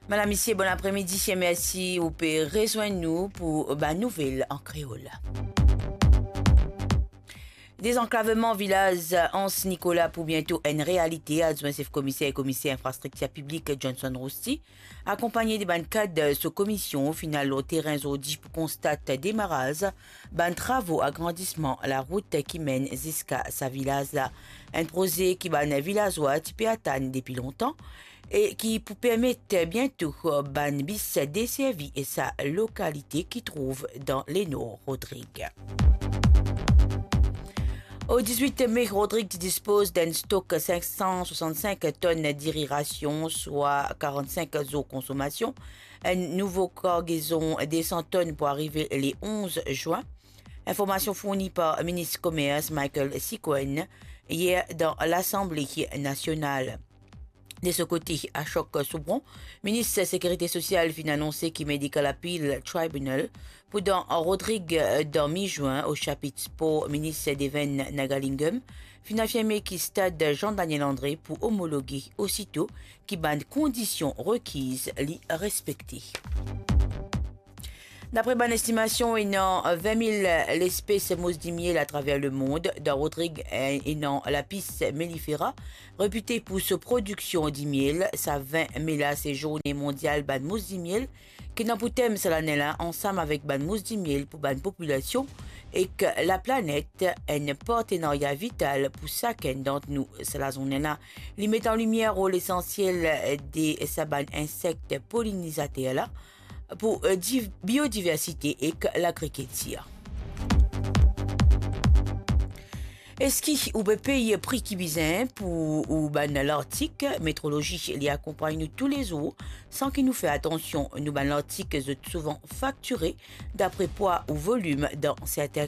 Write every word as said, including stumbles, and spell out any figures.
Madam, misie, bon apremidi e mersi ou pe rezwenn nou pou bann nouvel an kreol. Dezanklaveman vilaz Anse Nicolas pou biento enn realite. Adwin sef komiser e komiser infrastriktir piblik Johnson Rousty, akonpagne de bann kad so komisyon, finn al lor terin zordi pou konstat demaraz bann travo agrandisman larout ki menn ziska sa vilaz la. Enn proze ki bann vilazwa ti pe atann depi lontan e ki pou permet biento bann bis deservi sa lokalite ki trouv dan lenor Rodrig. O dizwit me, Rodrig ti dispoz d'enn stok sink san swasann-sink tonn diri rasion, swa karann-sink zour konsomasion. Enn nouvo kargezon de san tonn pou arive le onz zwin. Informasion fourni par minis komers Michael Sikuen yer dan Lasanble Nasional. De so kote, Ashok Soubron, minis sekirite sosial, finn anonse ki Medical Appeal Tribunal pou dan Rodrig dan mi zwin. O sapit spor, minis Devan Nagalingam finn afirme ki stad Jean Daniel Andre pou omologe osito ki bann kondision rekiz li respekte. Dapre bann estimasion, ena vin mil lespes mous dimiel atraver lemond. Dan Rodrig, ena lapis mellifera, repite pou so prodiksion dimiel. Sa vin me la se Zourne Mondial bann Mous Dimiel ki ena pou tem sa lane la, ansam avek bann mous dimiel pou bann popilasion ek laplanet, enn partenaria vital pou sakenn dant nou. Sa lazourne la, li met an limier rol esansiel de sa bann insek polinizater la pou, eh, div-, biodiversite ek lagrikiltir. Eski ou pe pey pri ki bizin pou ou bann lartik? Metrolozi, li akonpagn nou toulezour san ki nou fer atansion. Nou bann lartik, zot souvan faktire dapre pwa ou volim dan sertin